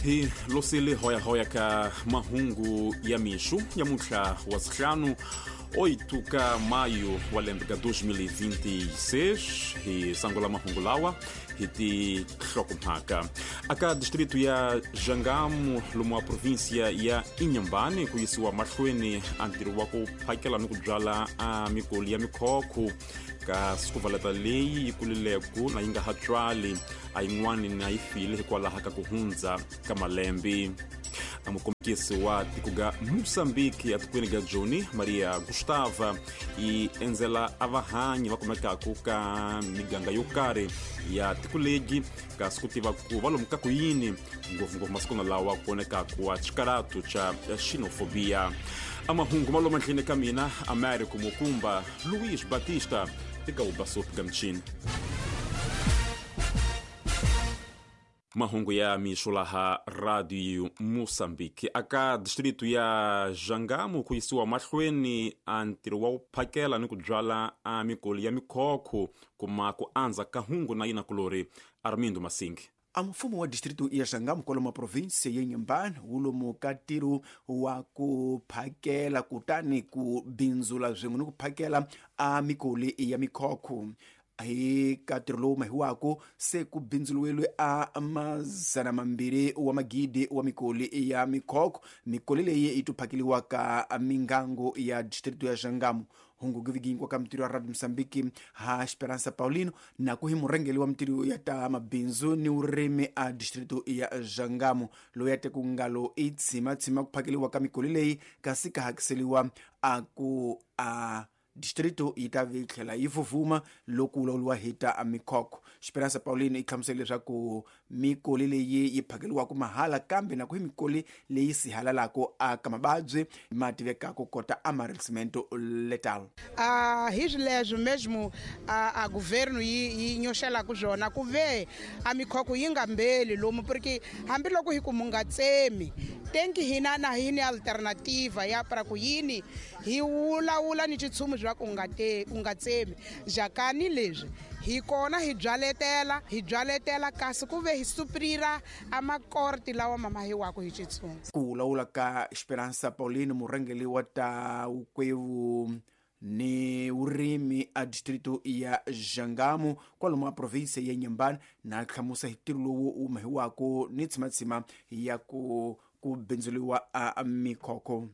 Hi losile hoyahoya ka mahungu ya mixo nyamuntlha wa sihlanu 8 ka maio wa lembe ka 2026. Hi sangula mahungu lawa hi tinhlokomhaka. Aka distrito ya Jangamo lomu wa província ya Inhambane ku yisiwa mahlweni a ntirho wa ku phakela ni ku byala a mikoli ya mikhokho ka sikuvaleta leyi yi kulileku na yi nga ha tswali a yin'wani na yi file hikwalaho ka ku hundza ka malembe. A mukombisi wa tiko ga Moçambique etikweni ga Joni Maria Gustava yi endzela a vahanyi va kumekaka ka miganga yo karhi ya tiko legi kasi ku tiva ku va lomu ka ku yini ngopfungopfu masiku na lawa ku vonekaka wa xikaratu xa xenofobia. A mahungu ma lomu endleni ka mina Américo Mukumba Luís Batista eka Ubasopi ga michini. Mahungu ya mixo laha Radio Moçambique. Aka distrito ya Jangamo ku yisiwa mahlweni a ntirho wa ku phakela ni ku byala a mikoli ya mikhokho kuma ku andza ka hungu na yina kulori Armindo Masingi. A mfumo wa distrito ya Jangamo kwalomu província ya Inhambane wu lomu ka ntirho wa ku phakela kutani ku bindzula swin'we ni ku phakela a mikoli ya mikhokho. Hi ka ntirho lowu mahiwaku se ku bindzuriwile a 200 wa magidi wa mikoli ya mikhokho. Mikoli leyi yi to phakeliwaka mingango ya distrito ya Jangamo. Hungu giviginkwa ka mitirho ya Radio Mozambique ha Esperança Paulino na ku hi murhangeri wa mitirho ya ta mabindzu ni vurimi a distrito ya Jangamo loyi a te ku ngalo i tshimatsima ku phakeliwa ka mikoli leyi kasi ka hakiseliwa a ku a distrito yi ta vi tlhela yi vuvuma loko ku vulavuriwa hi ta mikhokho. Esperança Paulino yi hlamusela leswaku mikoli leyi yi phakeliwaka mahala kambe na ku hi mikoli leyi sihalalaka aka mavabyi ma tivekaka kota amarelcimento letal. Hi swileswo mesmo a governo yi nyoxelaka swona ku ve a mikhokho yi nga mbeli lomu porque hambiloko hi ku mu nga tsemi tenki hina na hi ni alternativa ya para ku yini hi vulavula ni xitshungu bya ku u nga tsemi jakani leswi hi kona hi byaletela kasi ku ve hi suprira a makorti lawa mamahiwaka hi xitshungu. Ku vulavula ka Esperança Paulino murhangeri wa ta vukwevu ni vurimi a distrito ya Jangamo kwalomu a província ya Inhambane na hlamusa hi ntirho lowu wu mahiwaka ni tshimatsima ya ku bindzuriwa a mikhokho.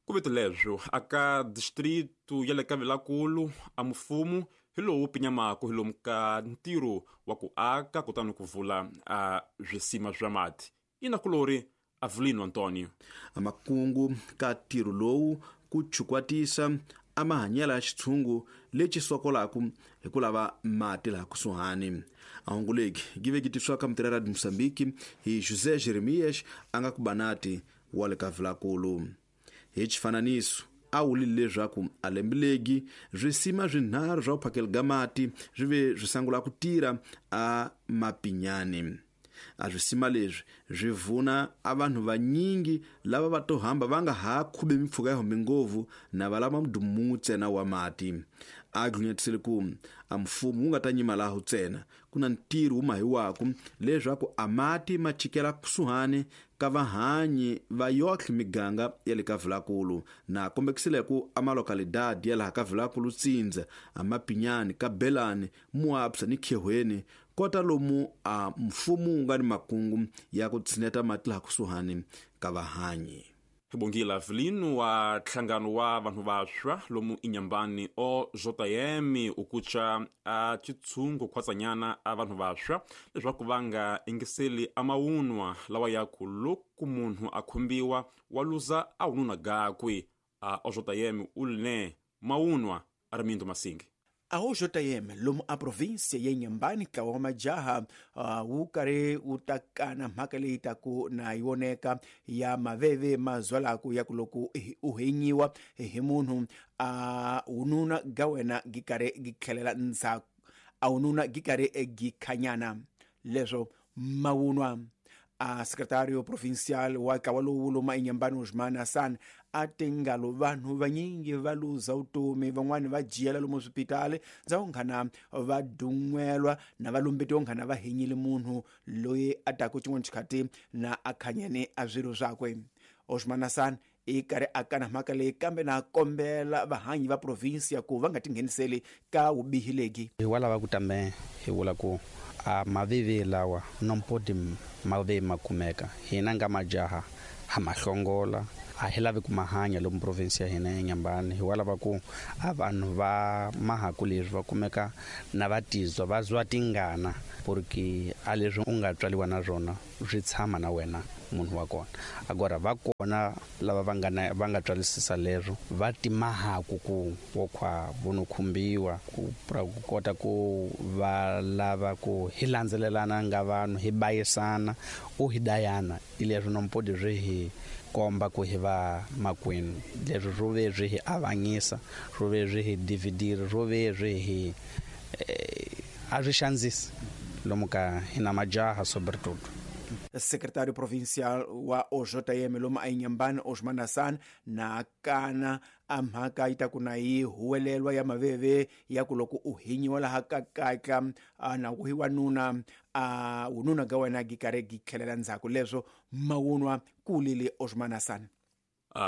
Ku vito leswo aka distrito ya le ka Vilakulu a mfumo hi lowu pinyamaka hi lomu ka ntirho wa ku aka kutani ku vula a swisima swa mati. Ina kulori Avelino Antonio. A makungu ka ntirho lowu ku chukwatisa a mahanyelo ya xitshungu lexi sokolaka hi ku lava mati laha kusuhani. A hungu leki gi vekitiswa ka mitirho ya Radio Mozambique hi José Jeremias a nga ku banati wa le ka Vilakulu. Hi xifananiso a wulile leswaku a lembe legi swisima swinharhu swa ku phakela ga mati swi ve swi sangula ku tirha a Mapinyani. A swisima leswi swi vuna a vanhu vanyingi lava va to hamba va nga ha khubi mimpfhuka ya hombe ngopfu na va lava mudumu ntsena wa mati. A dlunyetisile ku a mfumo wu nga ta nyima laho ntsena ku na ntirho wu mahiwaku leswaku a mati ma chikela kusuhani ka vahanyi va yohle miganga ya le ka Vilakulu na kombekisile ku a malokalidadi ya laha ka Vilakulu Tsindza, a Mapinyani, ka Belani, Muapsa ni Khehweni kota lomu a mfumo wu nga ni makungu ya ku tshineta mati laha kusuhani ka vahanyi. Bongile Avelino wa nhlangano wa vanhu vantshwa lomu Inhambane o JM ukucha a xitshungu khwatsanyana a vanhu vantshwa leswaku va nga ingiseli a mawunwa lawa ya ku loko munhu a khumbiwa wa luza a wununa gakwe. A OJM u line mawunwa Armindo Masingi. A OJM lomu a província ya Inhambane ntlawa wa majaha wu karhi wu takana mhaka leyi taku na yi voneka ya maveve ma zwalaku ya ku loko u henyiwa hi munhu a wununa ga wena gi karhi gi tlhelela ndzhaku a wununa gi karhi gi khanyana leswo mawunwa. A secretário provincial wa ntlawa lowu loma eNyembani Osman Hassan a tingalo vanhu vanyingi va luza vutomi, van'wani va jiyela lomu swipitali ndza nghana va dun'welwa na va lumbetiwa nghana va hinyile munhu loyi a taku xin'wana xikhati na a khanyene a swilo swakwe. Osman Hassan i karhi a kana mhaka leyi kambe na kombela vahanyi va provinsia ku va nga tingheniseli ka vubihi legi. Hi wa lava ku tambe hi vula ku a mavivi lawa nompodi mavi ma kumeka hina nga majaha ha mahlongola a hi lavi ku mahanya lomu provinsi ya hina ya Nyambani. Hi wa lava ku a vanhu va mahaku leswi va kumeka na va tizwa va zwa tingana porque a leswi u nga tswaliwa na swona swi tshama na wena munhu wa kona. Agora va kona lava va nga tswalisisa leswo va timahaku ku wokhwa vono khumbiwa ku kota ku va lava ku hi landzelelana nga vanhu hi bayisana u hi dayana ileswo nompodi swi hi komba ku hi va makwenu. Leswi swo ve swi hi avanyisa, swo ve swi hi dividira, swo ve swi hi a swi xandzisi lomu ka hina majaha sobretudo. Secretário provincial wa OJM lomu eNyembani Osman Hassan na kana a mhaka yi ta ku na yi huwelelwa ya maveve ya ku loko u hinyiwa laha ka katla na ku hi wanuna a wununa ga wena gi karhi gi tlhelela ndzhaku leswo mawunwa kulile Osman Hassan.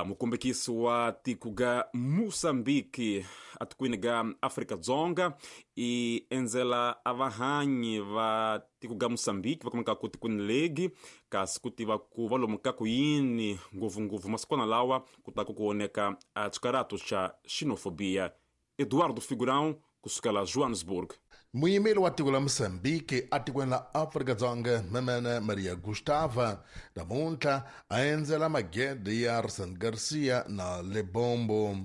Mukombekisi wa tiko ga Moçambique atikweni ga Afrika Dzonga i endzela a vahanyi va tiko ga Moçambique va kumeka ku tikweni legi kasi ku tiva ku va lomu ka ku yini ngopfungopfu masikwana lawa ku ta ku ku oneka a xikarato xa xenofobia. Eduardo Figurão kusukela Johannesburg. Muyimeli wa tiko la Mozambique atikweni la Afrika-Dzonga Memene Maria Gustava namuntlha a endzela magede ya Arsene Garcia na Lebombo.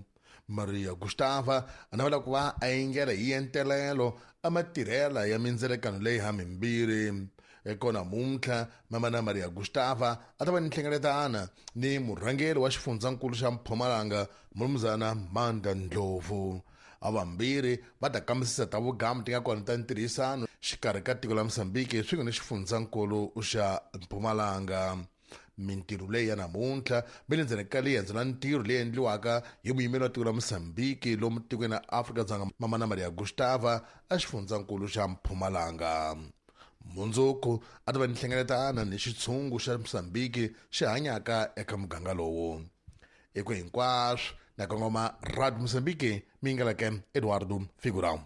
Maria Gustava a navela ku va a engela hi entelelo a matirhela ya mindzelekano leyi ha mimbirhi. Eko namuntlha Mamana Maria Gustava a ta va ni nhlengeletana ni murhangeri wa xifundzankulu xa Mpumalanga Mulumuzana Manda Ndlovu. A vambirhi va ta kambisisa ta vugamu ti nga kona ta ntirhisano xikarhi ka tiko la Mozambique swin'we ni xifundzankulu xa Mpumalanga. Mintirho leyi ya namuntlha mi le ndzeni ka liendzo la ntirho leyi endliwaka hi muyimeri wa tiko la Mozambique lomu tikweni ra Afrika-Dzonga Mamana Maria Gustava a xifundzankulu xa Mpumalanga. Mundzuku a ta va ni nhlengeletana ni xitshungu xa Mozambique xi hanyaka eka muganga lowu. Eku hinkwaswo na kongoma Radio Mozambique mingaleke Eduardo Figurão.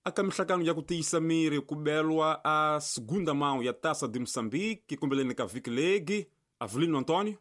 Aka mihlakano ya ku tiyisa miri ku belwa a segunda mão ya Taça de Moçambique kumbeleni ka vhiki legi. Avelino Antônio.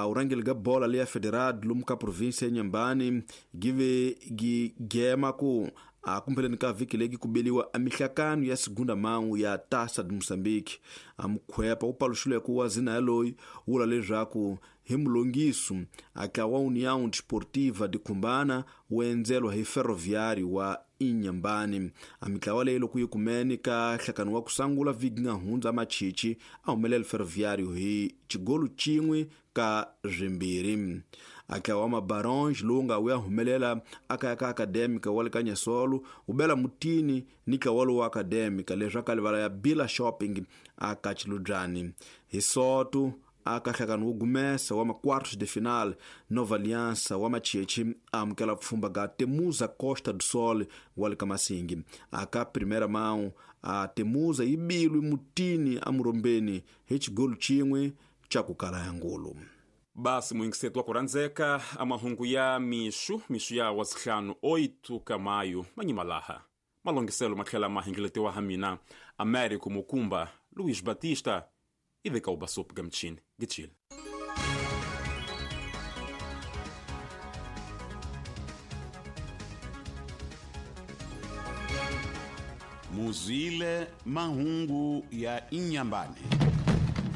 Urangeli ga bola leya federado lomu ka província ya Nyambani give gi gema ku a kumbeleni ka vhiki legi ku beliwa a mihlakano ya segunda mão ya Taça de Moçambique. A mukhwepa wu paluxile ku wa zina yaloyi wula leswaku hi mulongiso a tlawa União Desportiva de Cumbana wu endzelwa hi Ferroviário wa Inhambane. A mitlawa leyi loko yi kumene ka nhlakano wa ku sungula vhiki nga hundza machichi a humelela Ferroviário hi xigolu xin'we ka swimbirhi. A tlawa wa Mabaronge lowu nga wu ya humelela aka ka Acadêmica wa le ka Nyasolo wu bela mutini ni ntlawa lowu wa Acadêmica leswi a ka livala ya Bila Shopping a ka Chilubyani. Hi Soto aka nhlakano wo gumesa wa ma-quartos de final Nova Aliança wa Machechi a amukela pfhumba ga Temuza Costa do Sol wa le ka Masingi. Aka primeira mão a Temuza yi bilwi mutini amurombeni hi xigolu xin'we xa ku kala ya ngulu. Basi muingiseto wa ku rhandzeka a mahungu ya mixu mixu ya wa sihlanu 8 ka mayu manyimalaha malongiselo ma tlhela ma hingiletiwa ha mina Américo Mukumba Luiz Batista iveka ubasup gamchini gitshile. Muzwile mahungu ya Inhambane.